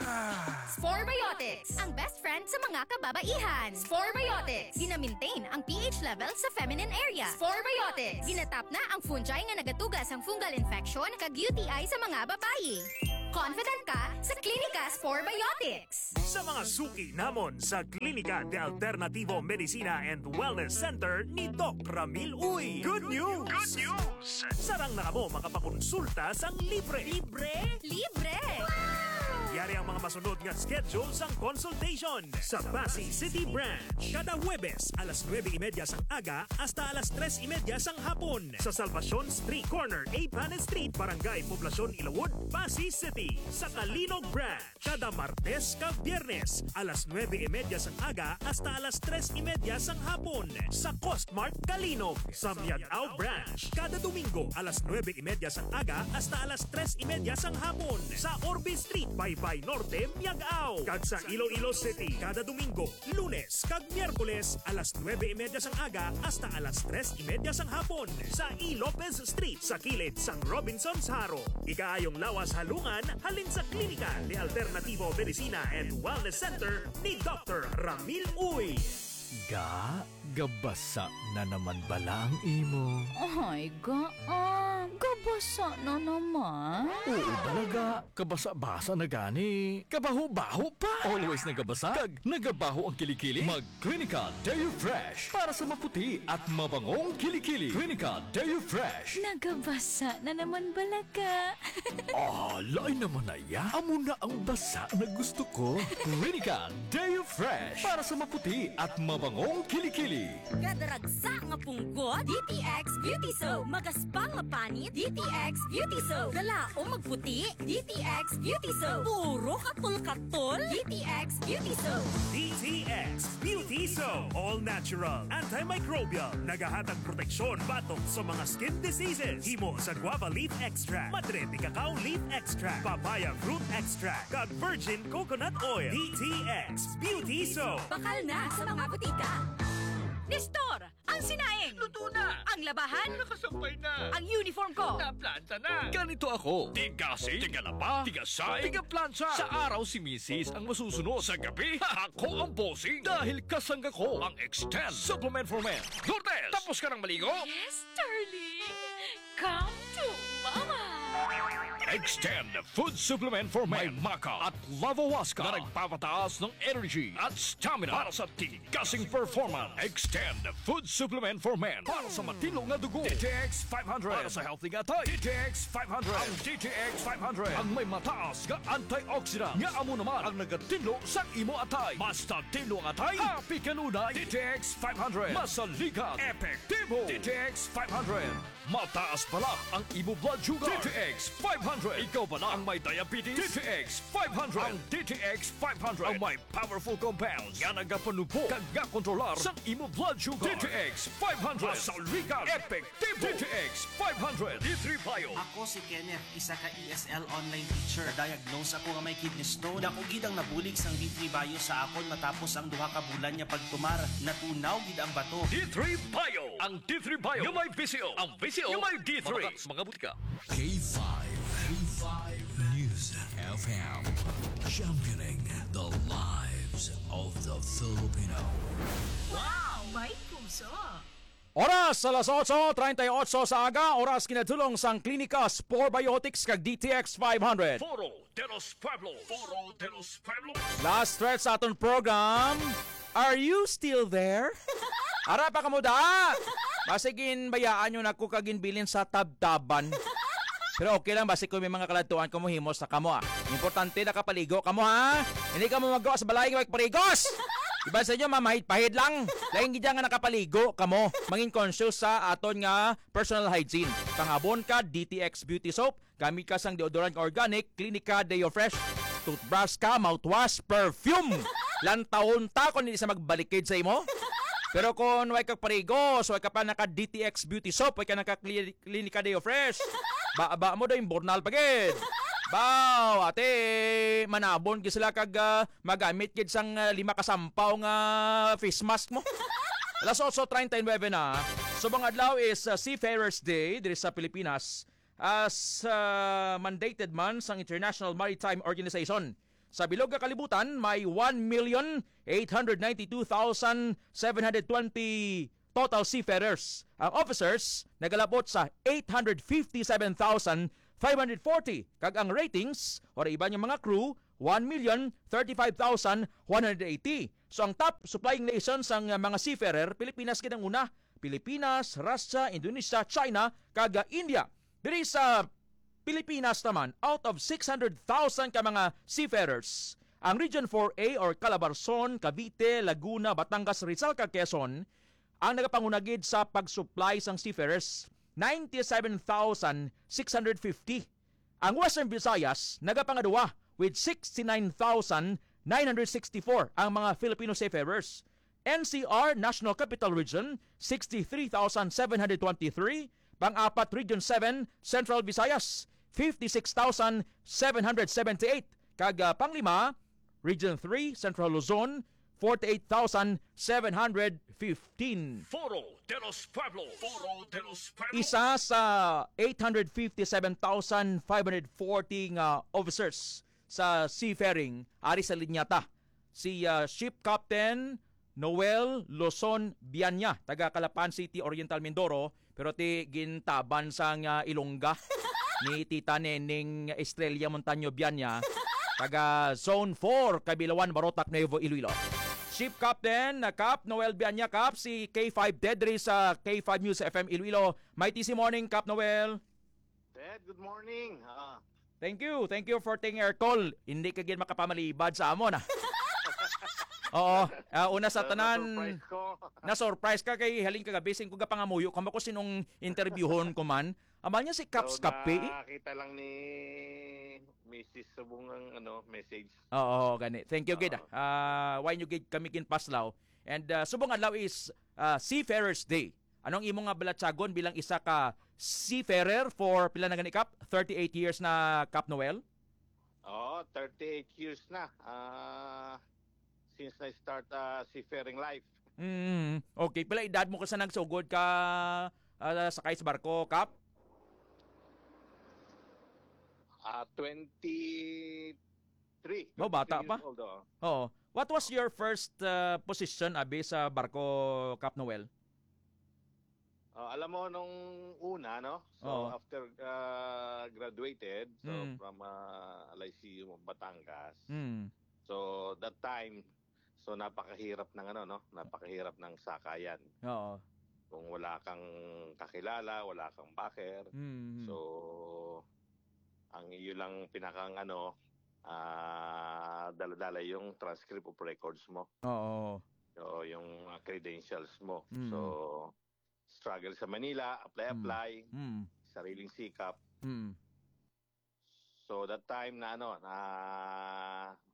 Spore Biotics, ang best friend sa mga kababaihan. Spore Biotics, gina-maintain ang P H level sa feminine area. Spore Biotics, ginatap na ang fungi nga nagatuga sang fungal infection kag U T I sa mga babayi. Confident ka sa Klinika Spore Biotics. Sa mga suki namon sa Klinika de Alternativo Medicina and Wellness Center ni Doc Ramil Uy. Good news! Good news! Sarang na kamo makapakonsulta sang libre. Libre? Libre! Yari ang mga masunod nga schedule sang consultation. Sa Passi City Branch, kada Huwebes alas nuebe y media sang aga hasta alas tres y media sang hapon. Sa Salvacion Street, corner A Panes Street, Barangay Poblacion, Ilawod, Passi City. Sa Calinog Branch, kada Martes kag Biyernes, alas nuebe y media sang aga hasta alas tres y media sang hapon, sa Costmart Calinog. Sa Miag-ao Branch, kada Domingo, alas nuebe y media sang aga hasta alas tres y media sang hapon, sa Orbe Street, Baybay Norte, Miag-ao. Kag sa Iloilo City, kada Domingo, Lunes kag Miyerkules, alas nuebe y media sang aga hasta alas tres y media sang hapon, sa E. Lopez Street, sa kilid sang Robinsons Jaro. Ikaayong lawas halungan halin sa Klinika de Alternativo Medicina and Wellness Center ni Doctor Ramil Uy. Ga, gabasa na naman bala ang imo? Ay, ga, ah, gabasa na naman. Oo, bala, ga. Kabasa-basa na gani. Kabaho-baho pa. Always nagabasa kag nagabaho ang kilikili. Mag Clinica Deo Fresh para sa maputi at mabangong kilikili. Clinica Deo Fresh. Nagabasa na naman bala ka. Ah, lain naman na ya. Amo na ang basa na gusto ko. Clinica Deo Fresh para sa maputi at mabangong kilikili. Kadaragsa nga punggot, D T X Beauty Soap. Magaspang nga panit, D T X Beauty Soap. Galaom magputi, D T X Beauty Soap. Puro katol-katol, D T X Beauty Soap. D T X Beauty Soap. All natural, antimicrobial. Nagahatag proteksyon batok sa mga skin diseases. Himo sa guava leaf extract, madre de cacao leaf extract, papaya fruit extract, kag virgin coconut oil. D T X Beauty Soap. Bakal na sa mga butika. Nestor, ang sinaing. Luto na. Ang labahan. Nakasampay na. Ang uniform ko. Naplanta na. Ganito ako. Tigasing, tigalaba, tigasaing, tigaplansa. Sa araw si misis ang masusunod. Sa gabi, ako ang bossing. Dahil kasangga ko ang Extend Supplement for Men. Lourdes, tapos ka nang maligo? Yes, darling. Come to Mama. Extend Food Supplement for Men. May maca at lavahuasca na nagpapataas ng energy at stamina para sa tigasing performance. Extend Food Supplement for Men para sa matinlo nga dugo. D T X five hundred para sa healthy nga atay. D T X five hundred. Ang D T X five hundred ang may mataas nga antioxidant nga amo naman ang nagatinlo sa imo atay. Mas tatinlo ang atay, happy kanunay. D T X five hundred. Masaligan, epektibo. D T X five hundred. Mataas bala ang imo blood sugar. D T X five hundred. Ikaw bala ang may diabetes? D T X five hundred. Ang D T X five hundred ang may powerful compounds nga nagapanubo kag gakontrolar sang imo blood sugar. D T X five hundred. Masaligan, epektibo. D T X five hundred. D three Bio. Ako si Kenneth, isa ka E S L online teacher. Diagnose ako nga may kidney stone. Dako gid ang nabulig sang D three Bio sa akon matapos ang duha ka bulan nga pagtumar. Natunaw gid ang bato. D three Bio. Ang D three Bio nga may V C O. Ang V C O nga may D three. Mabakal sa mga butika. K five, K five News F M, championing the lives of the Filipino. Wow! May puso! Oras, alas otso treinta y ocho sa aga, oras kinatulong sang Klinika Spore Biotics kag D T X five hundred. Foro de los Pueblos. Foro de los Pueblos. Last stretch sa aton program. Are you still there? Ara pa kamo da? Basig ginbayaan nyo na ko kag ginbilin sa tabtaban. Pero okay lang, basig kung may mga kaladtuan kamo, himos na kamo, ah. Importante, nakapaligo kamo, ha? Hindi kamo magawa sa balay nga magparigos! Iban sa inyo, mamahid-pahid lang. Lain gid nga nakapaligo kamo. Mangin conscious sa aton nga personal hygiene. Pangabon ka, D T X Beauty Soap. Gamit ka sang deodorant nga organic, Clinica Deo Fresh. Toothbrush ka, mouthwash, perfume. Lantawon ta kung hindi sa magbalikid sa imo. Pero kung way ka parigo, so way ka pa naka D T X Beauty Soap, way ka naka Cli- Clinica Deo Fresh. Ba, ba mo daw yung bornal pa gid. Baw, ate, manabon gid sila kag ah, magamit gid sang ah, lima ka sampaw nga face mask mo. Alas otso treinta y nueve na. Subong adlaw is ah, Seafarers Day diri sa Pilipinas. As ah, mandated man sang International Maritime Organization. Sa bilog nga kalibutan, may one million eight hundred ninety-two thousand seven hundred twenty total seafarers. Ang officers nagalabot sa eight hundred fifty-seven thousand five hundred forty, kag ang ratings or iban nga mga crew, one million thirty-five thousand one hundred eighty. So ang top supplying nation sang mga seafarer, Pilipinas gid ang una. Pilipinas, Russia, Indonesia, China, kag India. Diri sa Pilipinas naman, out of six hundred thousand ka mga seafarers, ang Region four A or Calabarzon, Cavite, Laguna, Batangas, Rizal, kag Quezon ang nagapanguna gid sa pag-supply sang seafarers, ninety-seven thousand six hundred fifty. Ang Western Visayas nagapangaduwa with sixty-nine thousand nine hundred sixty-four ang mga Filipino seafarers. N C R, National Capital Region, sixty-three thousand seven hundred twenty-three. Pang-apat, Region seven, Central Visayas, fifty-six thousand seven hundred seventy-eight. Kag ah, panglima, Region three, Central Luzon, forty-eight thousand seven hundred fifteen. Foro de los Pueblos. Foro de los Pueblos. Isa sa eight hundred fifty-seven thousand five hundred forty nga officers sa seafaring ari sa linya ta, si ah, Ship Captain Noel Luzon Bianya, taga Calapan City, Oriental Mindoro, pero ti gintaban sang ah, Ilongga ni Tita Neneng Estrella Montaño Bianya, taga Zone four, Kabilawan, Barotac, Nuevo Iloilo. Ship Captain na Cap Noel Bianya, Cap, si K five Ted diri sa K five News F M Iloilo. Mighty si morning, Cap Noel. Ted, good morning. Ah, Thank you. Thank you for taking our call. Hindi ka gid makapamalibad sa amon, ah. Oo. Ah, una sa na, tanan, na-surprise ko. Na-surprise ka kay halin kagabi, sin ko gapangamuyo kamo ko sinong interviewon ko man. Amal niya si Caps So, Cafe, eh. Nakita lang ni Missus Subong ang, ano, message. Oo, gani. Thank you, gid, ah. Oo. Ah, why nyo gid kami ginpaslaw? And ah, subong adlaw is ah, Seafarers Day. Anong imo nga balatyagon bilang isa ka seafarer for pila na gani, Kap? Thirty-eight years na, Kap Noel? Oo, thirty-eight years na. Ah, since I start ah, seafaring life. Mm, okay. Pila edad mo ka sa nagsugod ka ah, sakay sa barko, Kap? Ah, twenty-three, Oh, bata twenty-three pa. Years old, oo. Oo. What was your first ah, position, abi, sa barko, Kap Noel? Ah, alam mo, nung una, no? So, Oo. after ah, graduated, so Mm. from ah, L I C U Batangas. Mm. So, that time, so napakahirap ng ano, no? Napakahirap ng sakayan. Oo. Kung wala kang kakilala, wala kang backer, Mm. so ang iyo lang pinakang ano, ah, dala-dala yung transcript of records mo. Oo. So, yung mga credentials mo. Mm. So, struggle sa Manila, apply, Mm. apply, Mm. sariling sikap. Mm. So, that time na ano, na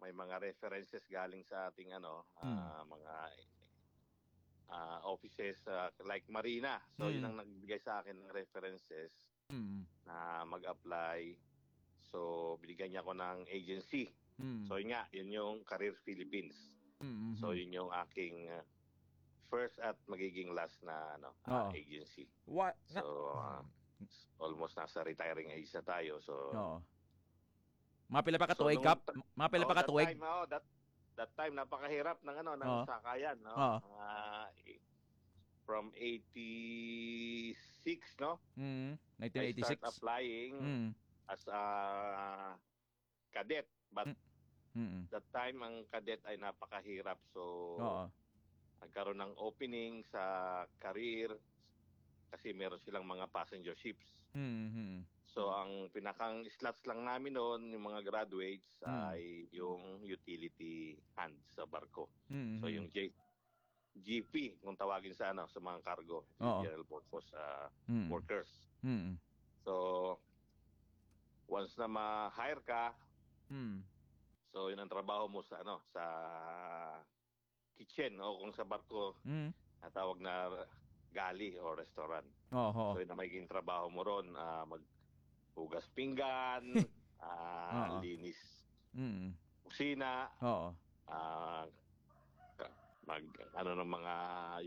may mga references galing sa ating ano, Mm. ah, mga ah, offices ah, like Marina. So, yun Mm. ang nagbigay sa akin ng references Mm. na mag-apply. So, binigyan niya ako ng agency. Mm. So, yun nga, yun yung Career Philippines. Mm, So, mm. yun yung aking ah, first at magiging last na ano, ah, Oo. agency. Wa-, na- So, ah, Mm. almost nasa retiring age na tayo. So, Oo. Mapila pa ka So, tuig, nung Kap? ta-, Mapila oh, pa ka that tuig? time, oh, that, that time, napakahirap ng ano, ng Oo. sakayan, no? Oo. Ah, i-, from eighty-six, no? Mm, I start nineteen eighty-six. applying Mm. as a cadet. But Mm. Mm. that time, ang cadet ay napakahirap. So, Oo. nagkaroon ng opening sa career kasi meron silang mga passenger ships. Mm, mm. So, Mm. ang pinakang slots lang namin noon, yung mga graduates, Mm. ay yung utility hand sa barko. Mm. So, yung J-, G P, kung tawagin sa, ano, sa mga cargo, yung Oo. general purpose, ah, Mm. workers. Mm. So, once na ma-hire ka, Mm. so, yun ang trabaho mo sa, ano, sa kitchen o kung sa barko, Mm. natawag na galley o restaurant. Oho. So, yun ang magiging trabaho mo ron, ah, maghugas pinggan, ah, Oo. linis Mm. kusina, Oo. ah, ka-, mag, ano, ng mga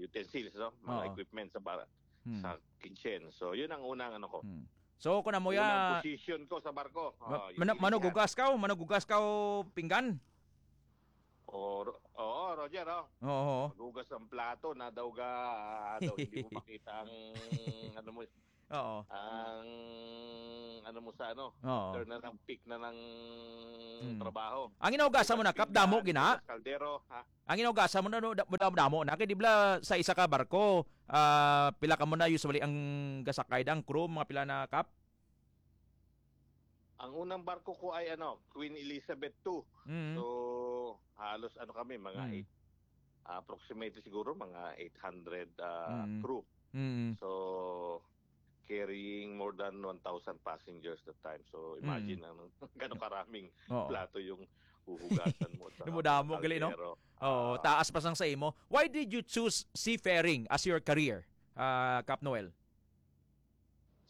utensils, no? Mga Oo. equipment sa bar-, Hmm. sa kitchen. So, yun ang unang, ano ko. Hmm. So, kung amo Unang ya, position ko sa barko. ma-, Oo, mana-, utility manugugas ka o manugugas ka o pinggan? O, Ro-, oo, Roger, oh. Oo. Maghugas ang plato, na daw ga, ah, daw hindi mo makita ang, ano mo, Oo. ang, ano mo sa, ano, Oo. after na ng peak na ng Hmm. trabaho. Ang inugasan mo na, Hugas Kap, damo pinggan, gina? hugas kaldero, ha? Ang inugasan mo na, no, da-, damo, damo na. Kay di bala sa isa ka barko, ah, pila ka mo na usually ang gasakay da, ang crew, mga pila na, Kap? Ang unang barko ko ay, ano, Queen Elizabeth two. Mm. So, halos, ano, kami, mga Mm. eight, ah, approximately siguro mga eight hundred, ah, Mm. crew. Mm. So, carrying more than one thousand passengers that time. So, imagine Mm. ang gano'ng karaming Oo. plato yung huhugasan mo at saka Yung mga damo, gali, no? kaldero. Oo, Ah. taas pa sang sa imo. Why did you choose seafaring as your career, ah, Kap Noel?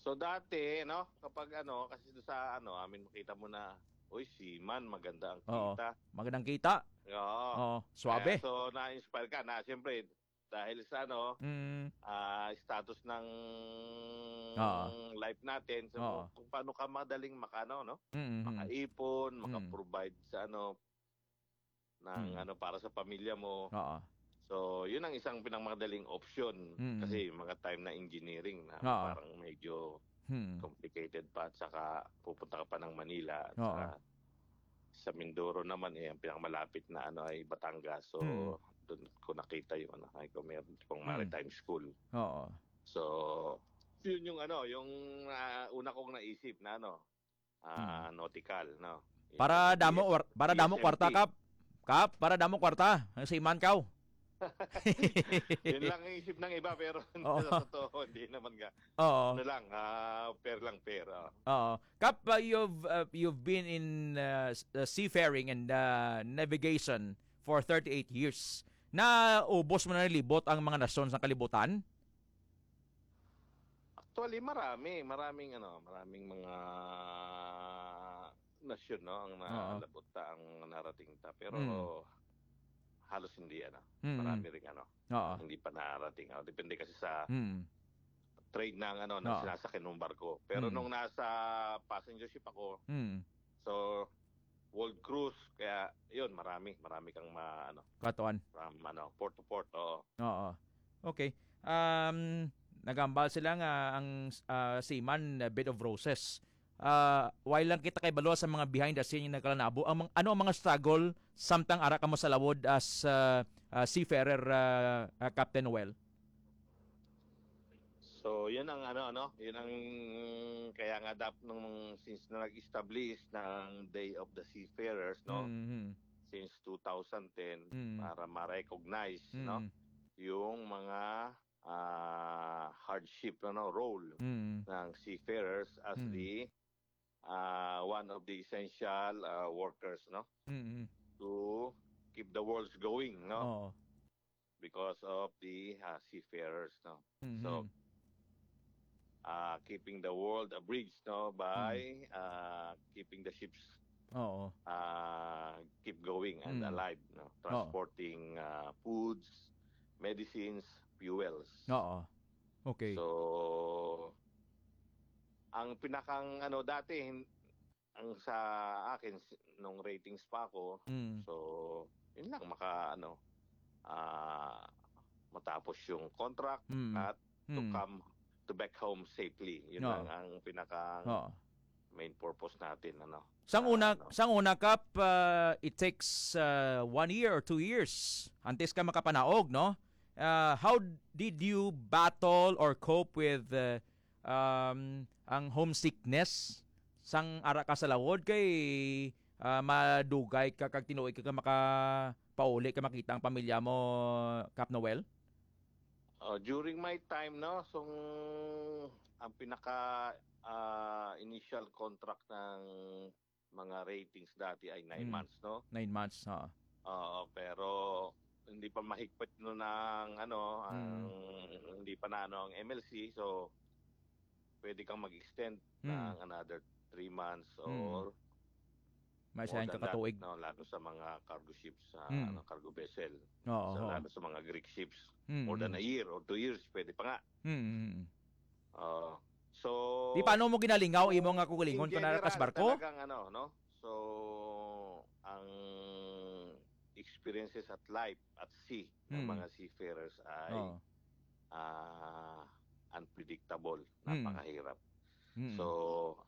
So, dati, no, kapag ano, kasi sa ano, amin makita mo na, "Uy, seaman, maganda ang Oo, kita." magandang kita. Oo. Oo, suabe. Kaya, so, na-inspire ka na, siyempre, dahil sa ano, Mm. ah, status ng Oo. life natin, so, Oo. kung paano ka madaling makano, no? Mm, mm. Makaipon, Mm. makaprovide sa ano, ng Mm. ano, para sa pamilya mo. Oo. So, yun ang isang pinakamadaling option. Mm. Kasi mga time na engineering na Oo. parang medyo Mm. complicated pa at saka pupunta ka pa ng Manila at Oo. saka sa Mindoro naman, eh, ang pinakamalapit na ano ay Batangas. So, Mm. doon ko nakita yung ano, ay kung meron pong Mm. maritime school. Oo. So, yun yung ano, yung, ah, una kong naisip na ano, ah, Mm. nautical, no? Para Yung damo war-, para damo S M T. kwarta, Kap. Kap, para damo kwarta. Ang seaman kaw. Yun lang ang isip ng iba, pero Oo. sa totoo, hindi naman nga. Oo. Ano lang, ah, fair lang, fair, ah. Oo. Kap, uh, you've, uh, you've been in, uh, s-, uh, seafaring and, uh, navigation for thirty-eight years. Naubos mo na nalibot ang mga nasyon sa kalibutan? Actually, marami, maraming ano, maraming mga nasyon, no, ang Oo. nalabot ta, ang narating ta. Pero Mm. halos hindi, ano, Mm. marami ring ano, Oo. hindi pa narating. Oh, depende kasi sa Mm. trade ng ano, ng Oo. sinasakyan ng barko. Pero Mm. nung nasa passenger ship ako, Mm. so, world cruise, kaya yun, marami, marami kang ma-, ano, Katuan. from, ano, port to port, oo. Oo. Okay. Um, nagambal sila nga ang, ah, seaman, ah, bed of roses. Ah, why lang kita kay balo sa mga behind the scene yung nagkalanabo? Ang mga, ano ang mga struggle samtang ara kamo sa lawod as, ah, ah, seafarer, ah, ah, Captain Noel? So, yun ang ano, ano, yun ang kaya nga dap-, nung since na nag-establish ng Day of the Seafarers, no? Mhm. Since two thousand ten, Mm. para ma-recognize, no? Mm. Yung mga, ah, hardship, ano, role Mm. ng seafarers as Mm. the, ah, one of the essential, ah, workers, no? Mm. To keep the worlds going, no? Oo. Because of the, ah, seafarers, no? Mhm. So, ah, keeping the world abridged, no, by, Mm. ah, keeping the ships, Oo. ah, keep going and Mm. alive, no? Oo. Transporting, ah, foods, medicines, fuels. Oo. Okay. So, ang pinakang ano dati, hin-, ang sa akin, s-, nung ratings pa ako, Mm. so, yun lang, maka-, ano, ah, matapos yung contract Mm. at to Mm. come to back home safely. Yun Oo. lang ang pinaka Oo. main purpose natin, ano. Sang Ah, una, ano. sang una, Kap, ah, it takes, ah, one year or two years antes ka makapanaog, no? Ah, how did you battle or cope with, ah, um, ang homesickness sang ara ka sa lawod kay, ah, madugay ka kag tinuoy ka nga makapauli ka makita ang pamilya mo, Kap Noel? Oh, during my time, no, so, ang pinaka, ah, initial contract ng mga ratings dati ay nine Mm. months, no? Nine months, ha. Oo, pero hindi pa mahigpit no ng ano, ang, Mm. hindi pa na ano ang M L C, so pwede kang mag-extend Mm. ng another three months Mm. or May more isa than ka that, katuig. No? Lalo sa mga cargo ships, sa Mm. ano, cargo vessel. Oo, So, oo. lalo sa mga Greek ships, Mm, more than mm. a year or two years, pwede pa nga. Mm, mm, mm. Oo. So, Di, paano mo ginalingaw imo nga kugalingon in kung nara ka sa general, barko? talagang ano, no? So, ang experiences at life at sea ng Mm. mga seafarers ay, Oo. ah, unpredictable, Mm. napakahirap. Mm. So,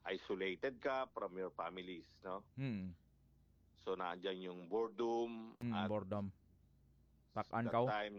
isolated ka from your families, no? Mm. So, nandyan yung boredom Mm, at boredom. Pak-an that ka, oh. time,